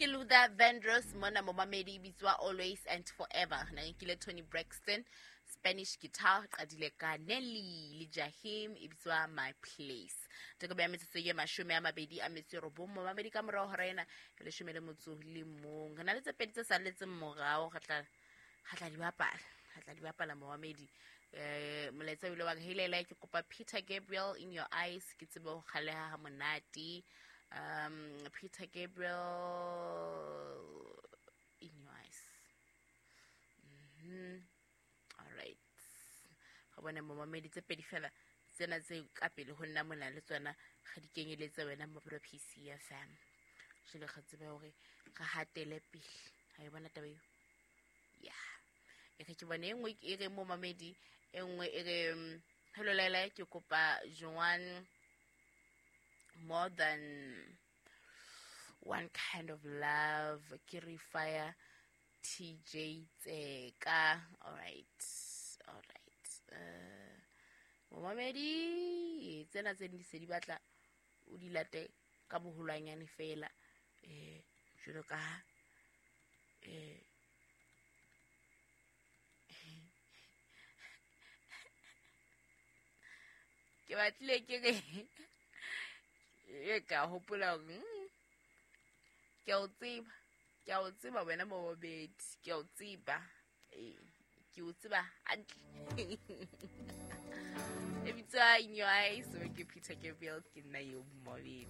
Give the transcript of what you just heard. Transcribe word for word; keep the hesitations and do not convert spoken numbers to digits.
Ke Luther Vandross mona momamedi, e bitswa Always and Forever. Na nkile Toni Braxton, Spanish Guitar, qadile ka Nelly le Jahim, e bitswa My Place. Teko ya metsotso ye mashome a mabedi a metso e robong momamedi ka morao hora ena ya leshome le motso le mong. Re na le tse pedi tse salletseng morao, re tla re tla di bapala, re tla di bapala momamedi. Eh, molaetsa o ile wa re helela, ke kopa Peter Gabriel, In Your Eyes, ke tsebe ho kgaleha ha monate. Um, Peter Gabriel, In Your Eyes. Mm-hmm. All right. Ga bona momamedi tse pedi fela tsena tse ka pele ho nna mona le tsona ga di kenyeletse wena mo P C F M. Jwale re tsebe hore re hatele pele. Ha e bona taba eo? Yeah. E re ke bone e nngwe e re momamedi, e nngwe e re, hello Laila, ke kopa Joan, More Than One Kind of Love, ke re fire T J Tseka. All right, all right. Uh, momamedi tsena tse di se di batla o di late ka boholwanyane fela, eh, jwalo ka, eh, ke batlile ke re e ka hopola hore, mm, ke a o tseba, ke a o tseba wena momamedi, ke a o tseba, eh, ke o tseba hantle. E bitswa In Your Eyes, ke Peter Gabriel, ke nna eo momamedi.